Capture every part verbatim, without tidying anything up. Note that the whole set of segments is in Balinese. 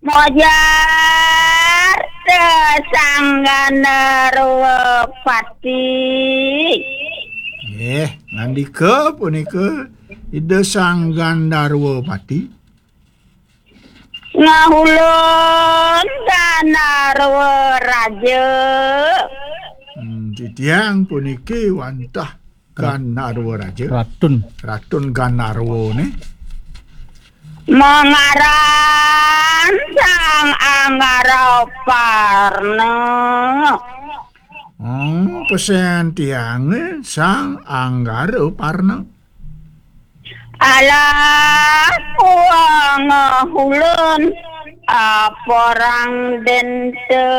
Mojar te Sang Gandarwa Pati. Nggih, ngandika punika Ida Sang Gandarwa Pati. Ngahulun Gandarwa Raja. Hmm, titiang puniki wantah Gandarwa Raja. Ratun. Ratun Gandarwa ne. Mangaran Sang Anggara Parna. Hmm, pesen tiange Sang Anggara Parna. Alah, puang ngahulun, ah, perang denta.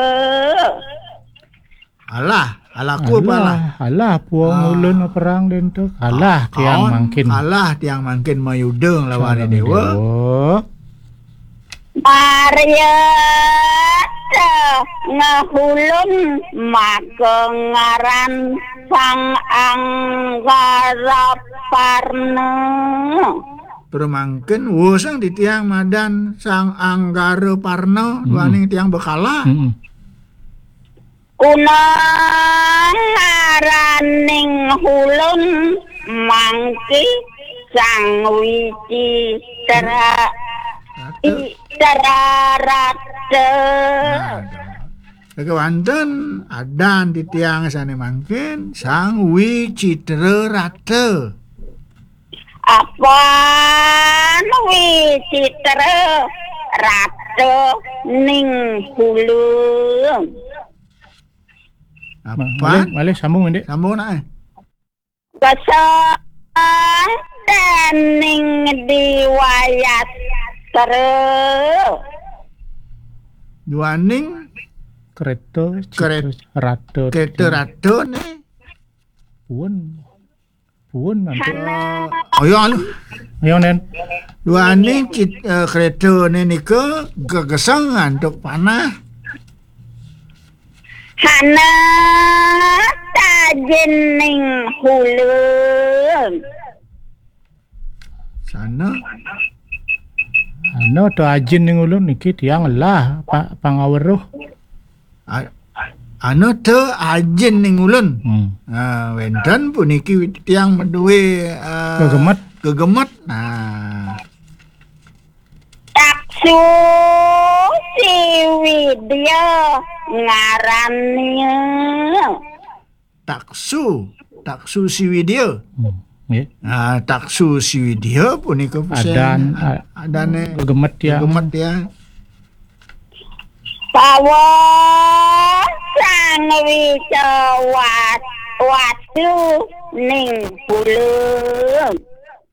Alah, alah ku apa alah? Alah, alah, puang Ah. ulun perang denta. Alah, tiang Aon, mangkin. Alah, tiang mangkin mayuda nglawan Sareng Dewa. Dewa. Maryata ngahulun maka ngaran Sang Anggara Parna. Pramangkin wusang titiang madan Sang Anggara Parna, Mm-mm. duaning tiang bekalah. Mm-mm. Kuna ngaraning hulun mangki Sang Wicitra, Rata. Wicitra Rata. Nah, kewanten adan titiang sane mangkin Sang Wicitra Rata. Apan Wicitra Rata ning hulun. Apan? Malih, malih sambung, Ndik. Sambung, nak, eh. Kesang dening Diwayastra. Duaning Kereta, Keret-, Citra Rata. Kereta Rata ne. Puun. Puun, antuk. Hana. Ayo, anu. Ayo, Nen. Duaning cit-, eh, kereta ne nika gegesang antuk panah. Hana tajening hulun. Sana. Hana tajening hulun niki tiang lah pa-, pangaweruh. A-, anu tajening hulun. Hmm. Ah, wenten puniki tiang maduwe, ah, gegemet. Gegemet. Nah. Taksu Siwidya ngarannya. Taksu, Taksu Siwidya. Hmm, nggih. Nah, Taksu Siwidya punika pesen adan, a-, adane gegemet ya. Gegemet ya. Pawa Sang Wica Wat-, Watu ning hulun.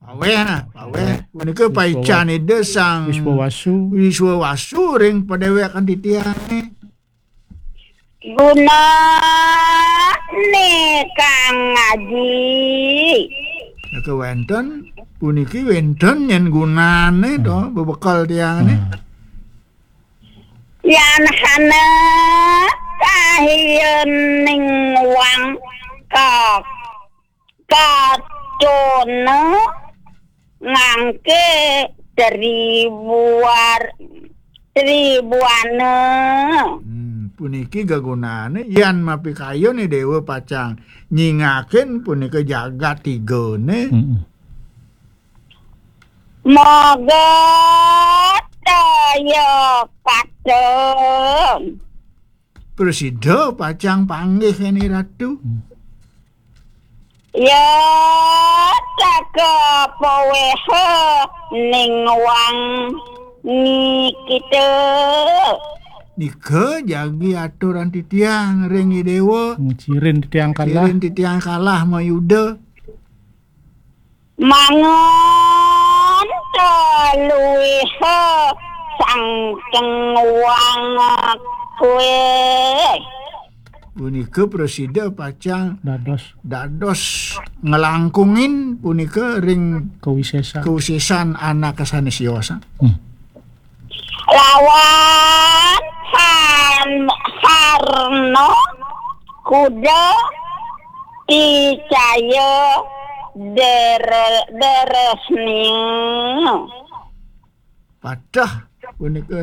Paweh, nah, paweh. Punika paican Ida Sang Wiswawasu. Wiswawasu ring padewekan titiange. Gunane kang ngaji. Nika wenten, puniki wenten nyen gunane to, hmm, bebekel tiange. Hmm. Yan hana kahiyening wang kak-, katona ngangke tribuar-, tribuana. Hmm, puniki gegunane yan mapikayun Dewa pacang nyingakin punika jagat tigane. Mm-mm. Moga toya katon. Prasida pacang panggih ene Ratu. Hmm. Ya teka paweha ning wangi kita. Nika jagi aturan titiang ring Idewa. Hmm, cirin titiang kalah. Cirin titiang kalah mayuda. Mangun kaluiha sangkeng wang kue. Punika prasida pacang dados, dados ngelangkungin punika ring kawisesan, kawisesan anake sane siosang. Hmm. Lawan Han-, Harno kuda icaya dere-, deresning. Patah punika